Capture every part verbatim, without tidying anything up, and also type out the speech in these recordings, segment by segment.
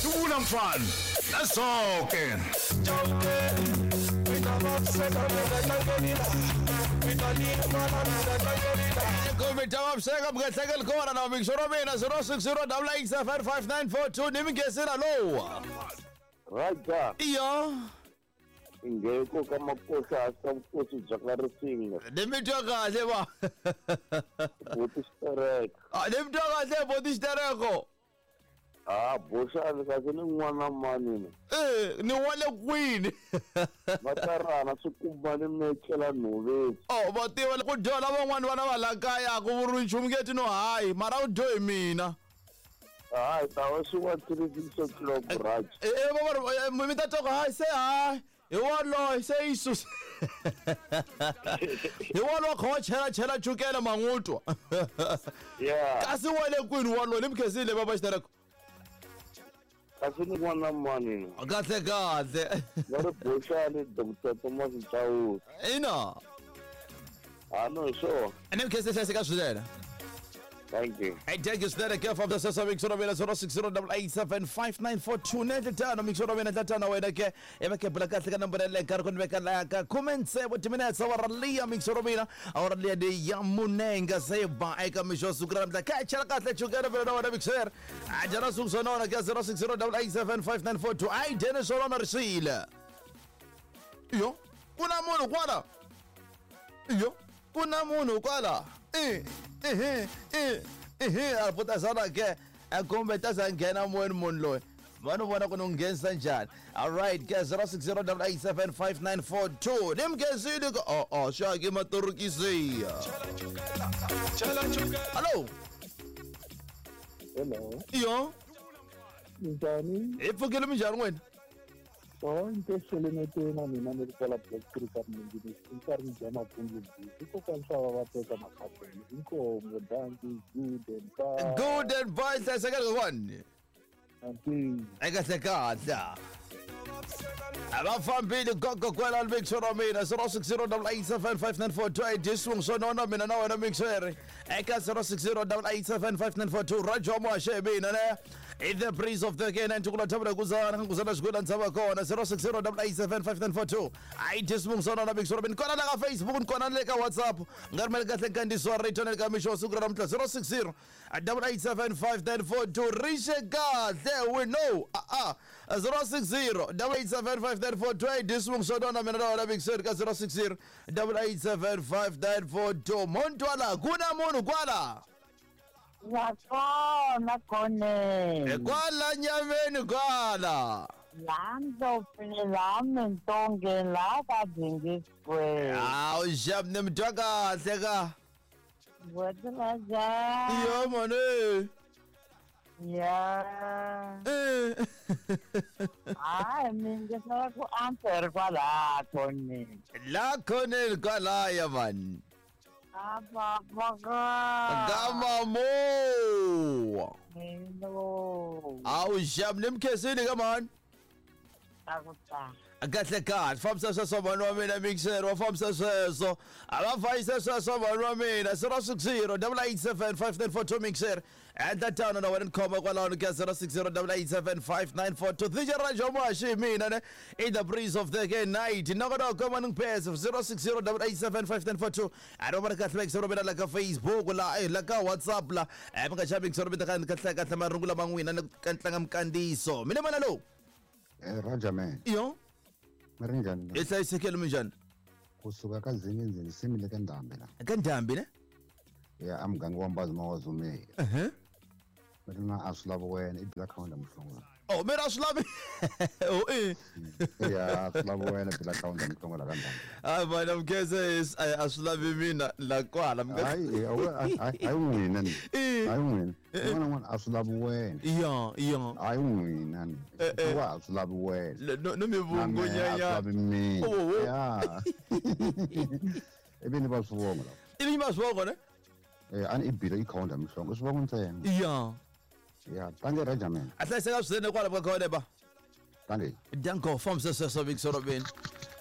Dubula mfana. Nasoke. zero six zero double eight seven five nine four two nimngesela lowa. Raja. Iyo. Ingeko kamakosa asamkosi jakarisinga. Nimitwa kahle ba. Boti sterek. Ah, nimitwa kahle boti stereko. Ah, bosha kahle ni n'wana mani. Eh, ni wale kwini. Matarana swikumba ni mechela nhoveni. Oh, va tiva ku dyoha van'wani vana va la kaya ku vuriwi nchumu nge no hayi, mara u dyohi mina. Hayi, tawa swi wa three six o'clock Raj. Eh, eh, va mi ta twa ku hayi se hayi. Hi waloye se yi susa. Hi waloye kha chela chela chukela mangutwa. Yeah. Kasi wale kwini waloye nimkhesile baba xitereko. Kasi ni n'wana mani. Kahle kahle. Va ri boxani Doctor Thomas Chauke. Ina. Ah no sure. Nimkhesile hlayiseka swinene. Thank you. Hey, thank you, Snare. Care from the Sasa Mix zero six zero double eight seven five nine four two. Nendletano Mix zero nendletano wena ke emake bula kahle ka number le ka rikon beka la ka comment se what minutes awara lia Mix zero mina awara lia de ya munenga se ba eka misho sukra mtla ka chala kahle chukera bela wena Mix zero. Ajara suksona ka zero six zero double eight seven five nine four two. Ai Dennis Orona risile. Yo, kuna munhu kwala. Yo, kuna munhu kwala. Eh. Eh eh eh alipotazana ke akumbe tazangena moyeni munhu loyi vano vona ku ni nghenisa njhani. All right ke zero six zero double eight seven five nine four two nimkhensile ka oh oh xaki matorokisiya. Hello. Hello. Iyo. Njhani? Hi pfukile minjhani n'wina? Sonke xelemeteni mina ni ri kwala Black Creek a Mlungini ni karhi ni dya mapundu hikokwalaho swa va va teka makapeni inkomo danki good and bye. Good and bye hlayiseka kokwani. Anti. Ekahle kahle. A va fambile gogo kwela Mix zero mina zero six zero double eight seven five nine four two eight disung sonona mina na wena Mix zero eka zero six zero double eight seven five nine four two Rajo Mwashe mina ne in the breeze of the game and tukula tabula kuzana kuzana xikula ntsava kona zero six zero double eight seven five nine four two ai disung sonona Mix zero mina kona la ka Facebook kona le ka WhatsApp ngari mele kahle nkandiso rito ne ka misho siku ra mtla zero six zero double eight seven five nine four two rishe kahle we know ah ah zero six zero double eight seven five nine four two eight disung sonona mina na wena Mix zero ka zero six zero double eight seven five nine four two Montwala kuna munhu kwala. Yakona khone. Kwala nyameni kwala. Landlopini lami ntonge la ka Dingiswe. Awu jab nemtwa kahle ka. Wetlaja. Yo mone. Ya. Eh. Ai mina ngisala ku answer kwala khone. La khone kwala ya man. Apa paka. Gama mo. Hello. Awu jab nimkhesile ka man. Akuta. Kahle kahle fambisa sweswo vanhu wa mina mixer wa fambisa sweswo a va fayisa sweswo vanhu wa mina zero six zero double eight seven five nine four two mixer endla tano na wena ni khoma kwalano ka zero six zero double eight seven five nine four two D J Rajo Mwashi mina ne in the breeze of the night noko noko ni phesa zero six zero double eight seven five nine four two a ro va kahle mixer mina la ka Facebook la eh la ka WhatsApp la eh mi nga xavi mixer mina ka kahle kahle marungula man'wina ni ka tlanga mikandiso mina mana lowu. Eh Raja man. Iyo. Marinjani. E hlayisekile minjhani? Kusuka ka Zinginzini simile ka Ndhambi la. Ka Ndhambi ne? Ya amganga wa Mbazi Mawazumile. Eh. Mina a swi lavi wena i bila khawunda muhlongolo. Oh, mina a swi lavi. Oh eh. Ya a swi lavi wena bila khawunda muhlongolo ka Ndhambi. Hayi bana mkhese a swi lavi mina la kwala mkhese. Hayi hayi n'wina ni. Hayi n'wina. N'wana n'wana a swi lavi wena. Ya ya. Hayi n'wina ni. Wa a swi lavi wena. No no mi vungunya ya. A swi lavi mina. Ya. Ivi ni va swivongo la. Ivi va swivongo ne? Eh ani i bila ikhawunda muhlongo swivongo ntsena. Ya. Ya, tange Raja man. A hlayiseka swinene kwala ka khona ba. Tange. Danko fambisa sweswo Mix zero mina.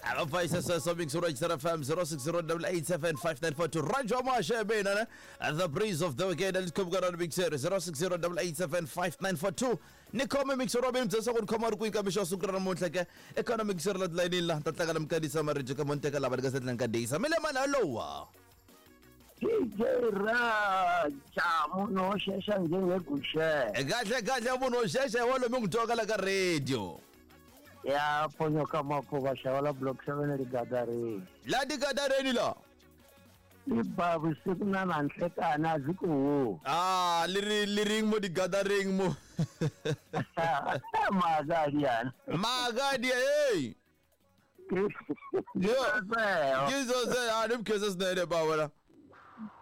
Ava sweswo mixero F M zero six zero eight eight seven five nine four two Raja Mashe mina the breeze of the weekend let's come on mixero zero six zero eight eight seven five nine four two ni khome mixero mina mtsesa ku khoma ri ku ika mixo siku ra namuntlha ke eka mixero la line la ta tlanga na mkanisa marito ka monteka lava ka setlang ka days mele mana lowa D J Raja munhu wo xexa njengeguxe kahle kahle munhu wo xexa wa lomu n'wi twaka la ka radio ya ponyoka makhuva xava block seven rigadareni la digadareni la i ba vusiku na nanhlekani a byi ku hu ah leri leri mo digadareng mo magadiana magadia hey yo Jesus a ni mkhese sinene ba wena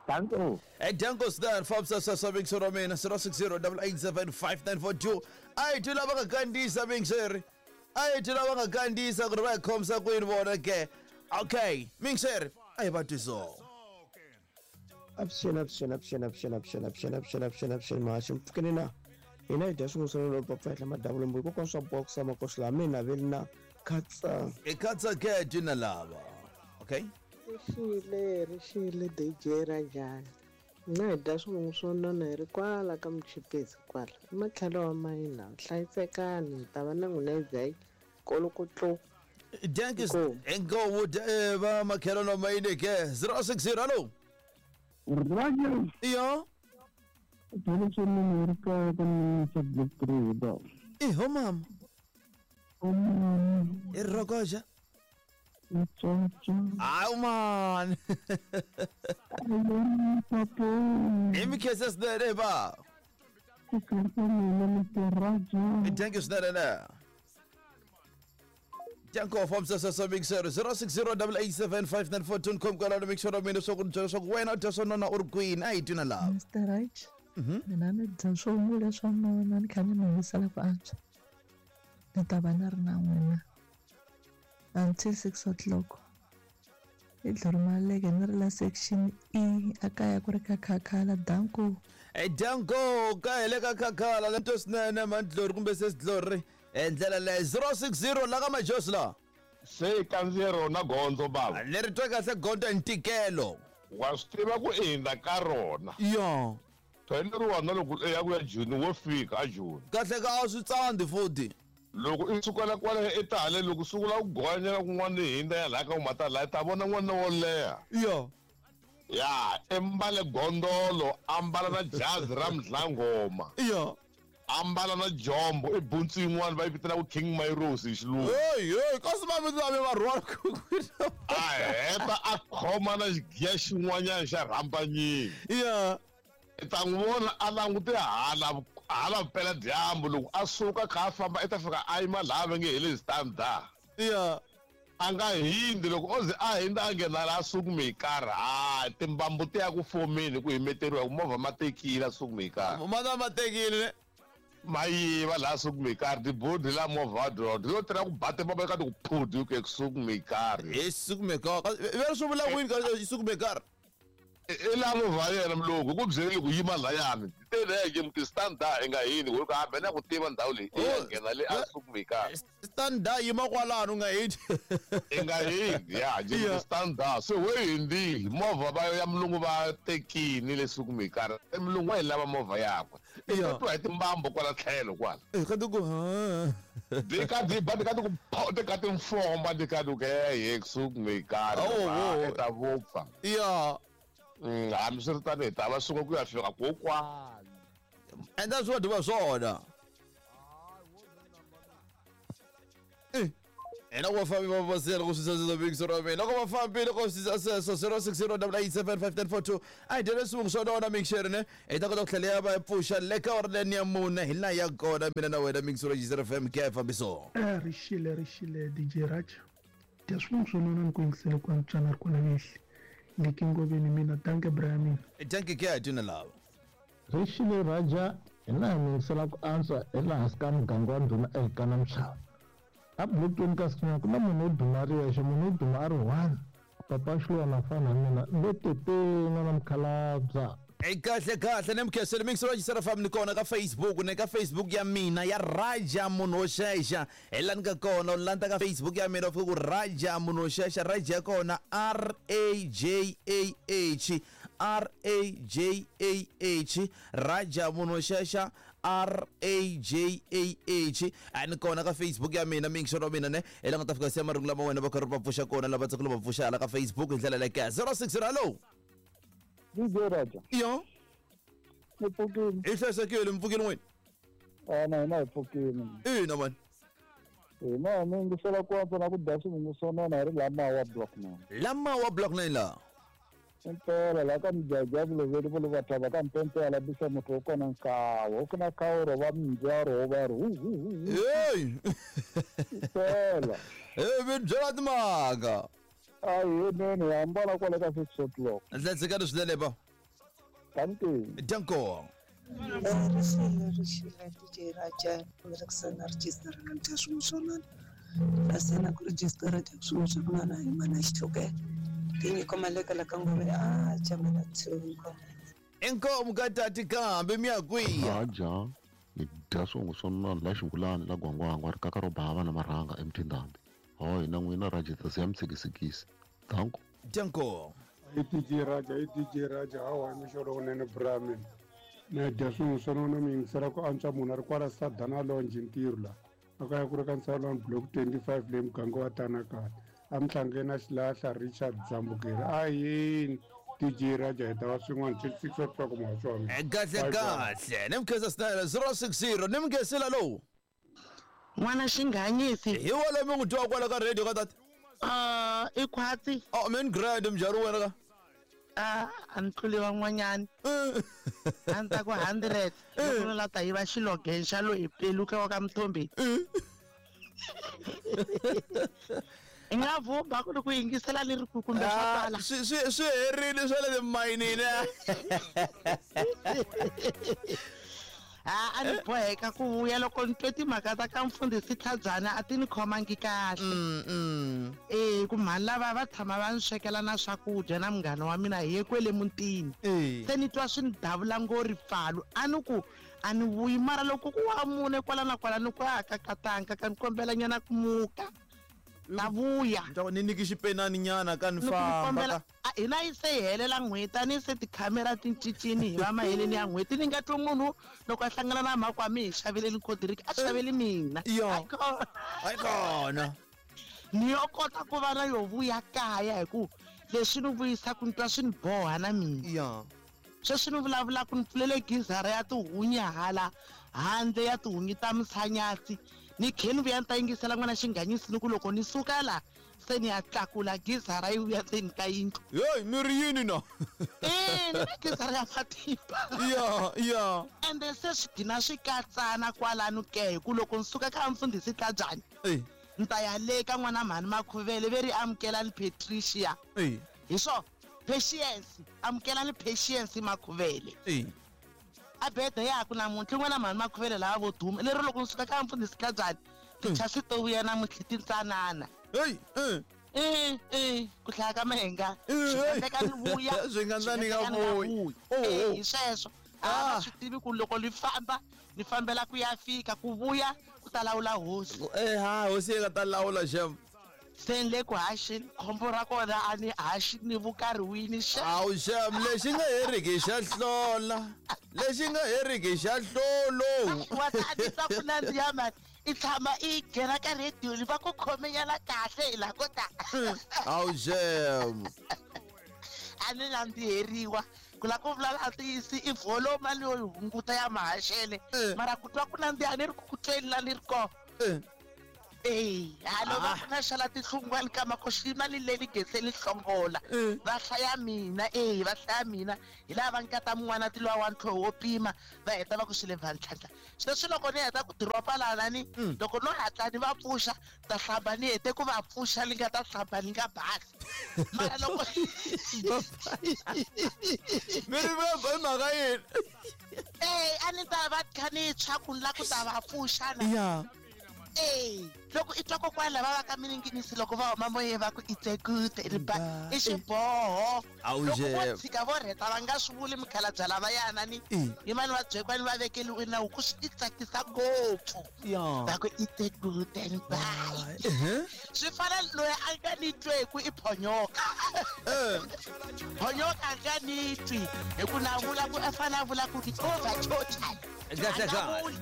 Thank you. Hey, Danko Stan, Fabsa Sabing Soromena, zero six zero eight eight seven five nine four two. I do love a Gandhi Sabing sir. I do love a Gandhi Sagra comes up with water. Okay, Mixer, I about to so. Option, option, option, option, option, option, option, option, option, Mashim Kanina. In a just was a perfect Madame Box, Makoslamina, Vilna, Katsa. A Katsa Junalava. Okay. Rixile rixile D J Raja mina hi dya swin'wana swo nona hi ri kwala ka muchipisi kwala ematlhelo wa mayina hlayisekani hi ta va na n'wina hi dya kolokotlo Dankis ngo va makhelo no mayine ke zero six zero hello Raja yo Eh ho mama e rokoja Aw man. Imi kese snere ba. Thank you snere na. Janko from Sasa Big Sir zero six zero eight eight seven five nine four two kom kala make sure mina so ku so wena u so nona ur queen ay tuna love. Mister Raj. Mina ni dya swo mula swa nona ni kha ni yingisela ku antswa. Ni ta va na ri na n'wina until six o'clock. I dlorimaleke ni ri la section E a kaya ku ri ka khakhala danko. E danko ka hele ka khakhala lento sinene mandlori kumbe sesidlori endlela le zero six zero la ka majosi la. Se kandziye rona gondzo baba. Leri twa kahle gondzo ntikelo. Wa swi tiva ku endla ka rona. Yo. Tweneriwa na loko ya ku ya June wo fika a June. Kahle ka a swi tsandi futhi. Loko i sukela kwale i ta hale loko sungula ku gonyela kun'wana hi hindza ya laha ka umata laha ta vona n'wana wo leha. Yo. Ya, ambale gondolo, ambala na jazi ra mdlangoma. Yo. Ambala na jombo i buntsu yin'wana va yi vitanaka King Myros hi xilungu. Hey, hey, kasi va mi va rhwala ku. A heta a khoma na xigiya xin'wanyana xa rhambanyini. Ya. I ta n'wi vona a langute hala hala vupela dyambu loko a suka kha a famba i ta fika a yima laha va nge hi le standard. Ya. A nga hindzi loko o ze a hindza a nghena laha suku mi karhi ha timbambu ti ya ku fomeni ku himeteriwa ku movha ma tekile a suku mi karhi. Ma ta ma tekile. Ma yiva laha suku mi karhi tibodi la movha dro yo tirha ku ba timbambu eka ti ku phudi ku suku mi karhi. Hi suku mi karhi. Ve swi vula kwini ka suku mi karhi? I la movha yena mulungu ku byele ku yima layani teleke muti standard i nga yini ku hambe na ku tiva ndhawu leyi i ya nghena le a suku mi karhi. Standard yima kwalano u nga hindi. I nga hindi ya nje standard se we hindile movha va ya mulungu va tekini le suku mi karhi mulungu wa yi lava movha yakwe i twa hi timbambu kwala tlhelo kwala. Eh ka ku ha di ka di ba di ka ku di ka timfomba di ka ku he suku mi karhi ta vupfa. Ya. Hambi swi ri tani hi ta va suka ku ya fika kokwani. Endla swo dyiwa swona. Eh. Ena wa fambi va vasela ku swi big soro mina. Loko va fambile ku swi sweswo zero six zero eight eight seven five nine four two. A hi dyele swin'we swo nona mixer ne. Hi ta kota ku tlhela ya va pfuxa le ka ori leni ya mune hi laha ya kona mina na wena mixer G F M ke fambiso. Eh rixile rixile D J Raj. Dya swin'we swo nona ni ku yingisele ku antswana ri kona mihli. Ngikingoveni mina danke Brian. Danke ke tuna lava. Rixile Raja hi laha mi yingisela ku antswa hi laha hansi ka muganga wa ndhuna ehikana mixava. A bulutweni ka siku ku na munhu wo duma ri yexe munhu wo duma a ri one papa Xiluva na fana mina ndo tete n'wana mukhalabya. Kahle kahle ni mkhesele mix wa xisera fam ni kona ka Facebook ne ka Facebook ya mina ya Raja munhu wo xexa hi la ni ka kona u landza ka Facebook ya mina u fika ku Raja munhu wo xexa Raja ya kona R A J A H R A J A H Raja munhu wo xexa R A J A H ani kona ka Facebook ya mina mix wa mina ne hi la nga ta fika siya marungu lama wena va karhi va pfuxa kona lava tsakela va pfuxa hala ka Facebook hi ndlela leyi ka zero six zero hello D J Raja. Yo. Ni pfukile. I hlayisekile mpfukile n'wini? Ah na hina hi pfukile. Ina mani. Hina mi yingisela ku antswa na ku dya swivungu swo nona hi ri lamawa block nine. Lamawa block nine la. Impela la ka mujajja vuloveli vo va thava ka mpempe la bisa muthu wo kona nkawo ku na kawo ro va minjaro va ri hu hu hu. Hey. Impela. Hey mi byela timhaka. Ayi nene hambana kwale ka six o'clock. Hlayisekani swinene ba. Dankie. Danko. Rixile rixile D J Raja ni register na dya swin'we swo nona kasi na ku register dya swin'we swa ku nona hi mana xihlukela tinyiko maleka la ka ngove a jamela thungo inkomu ka tati kambe mi ya kwihi Raja ni dya swin'we swo nona la xingulani la gwangwangwa ri kaka ro bava na marhanga emtindambi ho hina n'wina Raja ta siya mtsikisikisi danko danko I D J Raja i D J Raja hawa mixolo wunene brami na dya swin'we swo nona mi yingisela ku antswa munhu a ri kwala Sadana Lounge ntirho la a ka ya ku ri ka Nsalani block twenty-five leyi muganga wa Tanakala a mhlangeni na xilahla Richard Dzambukeri a yini D J Raja hi ta va swin'wana till six o'clock muhaxi wa mina kahle kahle ni mkhesa snele zero six zero ni mkhesela lowu n'wana xinghanyisi hi wolo mi n'wi twa kwala ka radio ka tata uh i khwatsi oh min grand mjari wena ka a a ni tluli van'wanyani a ni ta ku hundred loko ni la ta yiva xilogen xa lo hi peluka wa ka Mthombeni i nga vhumba ku ri ku yingisela ni ri ku kumbe swo tala swi swi swi herile swa le timayinini a a ni boheka ku vuya loko ni twe timhaka ta ka mfundhisi Tlhabyana a ti ni khomangi kahle e ku mhani lava va tshama va ni swekela na swakudya na munghana wa mina hi ye kwele mutini se ni twa swi ni davula ngo ripfalo a ni ku a ni vuyi mara loko ku wa mune kwala na kwala ni ku a kakatanga ka ni kombela nyana ku muka na vuya ni nyiki xipenani nyana ka ni famba hina yi se hi helela n'hweti a ni se tikhamera ti cincini hi va maheleni ya n'hweti ni nga twi munhu loko a hlangana na mhaka wa mi hi xaveleni coldrink a xaveli mina hayi kona ni yo kota ku va na yo vuya kaya hi ku leswi ni vuyisaka ni twa swi ni boha na mina sweswi ni vulavulaka ni pfulele gizara ya tihunyi hala handle ya tihunyi ta misanyatsi ni khe ni vuya ni ta yingisela n'wana xinghanyisi ni ku loko ni suka la se ni ya tlakula gizara yi vuya ndzeni ka yindlu heyi mi ri yini na e ni na gizara ya matimba ya ya ende se swi gina swi katsana kwalano ke hi ku loko ni suka ka mfundhisi Tlhabyana ni ta ya le ka n'wana mhani Makhuvele ve ri amukelani Patricia hi swo Patience amukelani Patience Makhuvele a bede yaku namuntlha n'wana mhani Makhuvele lava vo duma lero loko ni suka ka mfundhisi Tlhabyana tichasi to vuya namuntlha tintsanana hey eh eh ku hlaya ka mahenga swi nga endleka ni vuya swi nga endla ni nga vuyi hi sweswo a swi tivi ku loko ni famba ni fambela ku ya fika ku vuya ku ta lawula hosi eh ha hosi yi nga ta lawula xem se ni le ku haxini khombo ra kona a ni haxi ni vukarhiwini xa awu xem lexi nga heriki xa hlola lexi nga heriki xa hlolo wa ta ni twa ku nandziha mani i tshama i nghena ka rediyo ni va ku khomenyana kahle hi la ko ta awu xem a ni nandziheriwa ku la ku vulavula tiyisi i volume leyo yi hunguta ya mahaxele mara ku twa ku nandziha ni ri ku ku tweni la ni ri kona Eh, halo va na xala tihlungwani ka makoxima ni leli geseni hlongola va hlaya mina eh va hlaya mina hi lava va nkata mun'wana ti lwa wa ntlho wo pima va heta va ku xile vantlhantlha sweswi loko ni heta ku diropa lana ni loko no hatla ni va pfuxa ta hlamba ni hete ku va pfuxa ni nga ta hlamba ni nga basi mara loko mi ri va mhaka yini eh a ni ta va kha ni tshwa ku ni la ku ta va pfuxa na ya Eh, loko i twa kokwana lava va ka mininginisi loko va huma moyeni va ku itsekute riba i xiboho. Awu Loko nje. vo tshika vo rheta va nga swi vuli mikhalabye lavayana ni yimani va byekwani va vekeliwe nawu ku swi ti tsakisa ngopfu. Ya. Va ku itsekute bye. Swi fana loyi a nga ni tweku i phonyoka. Phonyoka a nga ni twi hi ku na vula ku a fane a vula ku ri over total. Kahle kahle.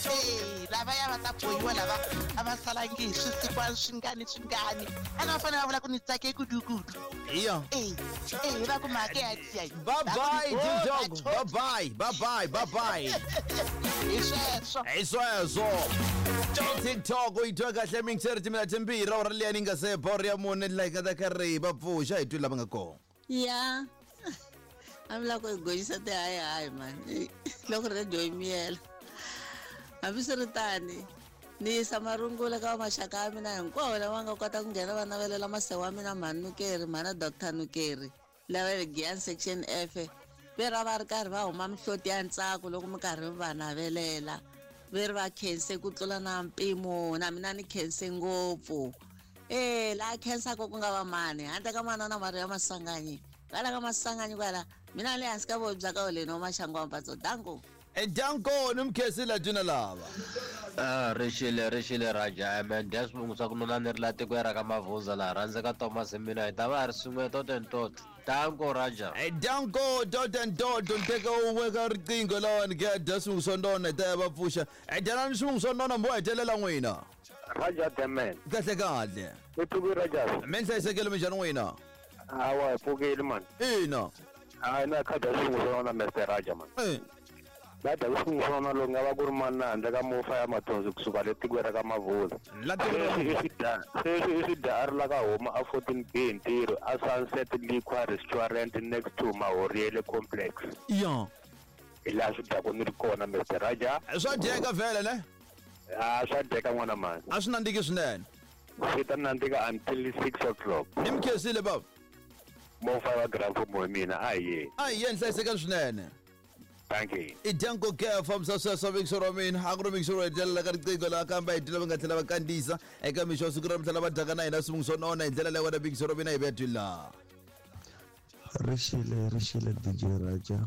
Eh, lavaya va ta bohiwa lava a va salangi hi swisikwana swingani swingani a na va fanele va vula ku ni tsake kudukudu. Iya. Eh, eh, va ku mhaka ya tiya. Bye bye Dog. Bye bye. Bye bye. Bye bye. Hi sweswo. Hi sweswo. TikTok u yi twa kahle mingiseri timina timbirhi awara liya ni nga se boro ya mune la hi nga ta karhi va pfuxa hi twi lava nga kona. Ya. A mi lava ku hi gonyisa tihayihayi mani loko radio yi miyela. Hambiswiritano ni yisa marungula ka maxaka ya mina hinkwawo lava nga kota ku nghena va navelela masewa wa mina mhani Nukeri mhana Doctor Nukeri lava le Giyani section F ve ra va ri karhi va huma mihloti ya ntsako loko mi karhi mi va navelela ve ri va khense ku tlula na mpimo na mina ni khense ngopfu. Eh laha khensaka ku nga va mani handle ka manana Maria Masanganyi kwala ka Masanganyi kwala mina le hansi ka voyi bya ka holeni wa maxangu wa mpatso danko. Danko ni mkhensile tuna lava. Ah, rixile rixile Raja man dya swivungu swa ku nuna ni ri la tikweni ra ka Mavuza laha rhandzeka Thomas hi mina hi ta va hi ri swin'we tot and tot. Danko Raja. Danko dot and dot nteka un'we ka riqingho lawani ke dya swivungu swa nona hi ta ya va pfuxa. Dyanani swivungu swa nona mo hetelela n'wina. Raja the man. Kahle kahle. I pfuki Raja. Mi hlayisekile minjhani n'wina? Hawa hi pfukile man. Ina. Hayi na khadi ya swivungu swa nona Mister Raja man. Eh. La dya swivungu swa nona lowu nga va ku ri mani handle ka mufa ya mathonsi kusuka le tikweni ra ka Mavuza. Sweswi i swi dya sweswi i swi dya a ri la ka huma a fourteen B hi ntirho a Sunset Liquor Restaurant next to Mahoriele Complex. Ya. Hi laha swi dyaku ni ri kona Mister Raja. Swa dyeka vhele ne? Ah, swa dyeka n'wana mani. A swi nandziki swinene. Swi ta nandzika until six o'clock. Ni mi khensile baba. Mofa wa Grand Mfumo hi mina a hi yeni. A hi yeni hlayisekani swinene. Thank you. I Danko ke fambisa sweswo mixo ra mina a ku ri mixo ro hetelela ka riqingho laha kambe hi tlhela va nga tlhela va kandziyisa eka mixo wa siku ra tlhela va dyaka na hina swivungu swo nona hi ndlela leyi wena mixo ra mina hi vetwi laha. Rixile rixile D J Raja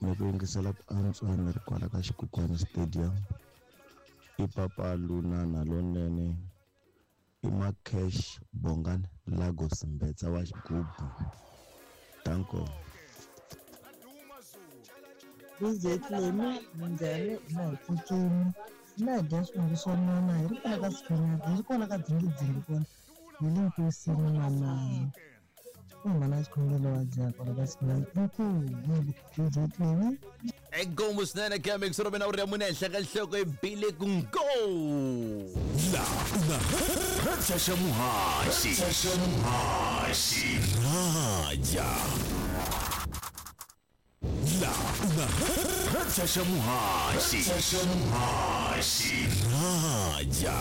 mi ku yingisela ku antswa ni ri kwala ka Xikukwana Stadium i papa Lunana lonene i Makesh Bongani Lagos Mbetsa wa xigubu. Danko. D J Clemi minjhani na hi pfukini na hi dya swivungu swa nona hi ri kwala ka Sikhunyati hi ri kwala ka Dzingidzingi kona hi le nkosini manana u mhana xikhongelo wa dya kwala ka Sikhunyati inkomu D J Clemi. Inkomu swinene ke mixo ra mina u ri ya mune henhla ka nhloko i bile ku ngo. La una Raja xa muhaxi. Raja muhaxi. Raja. La una Raja xa muhaxi. Raja muhaxi. Raja.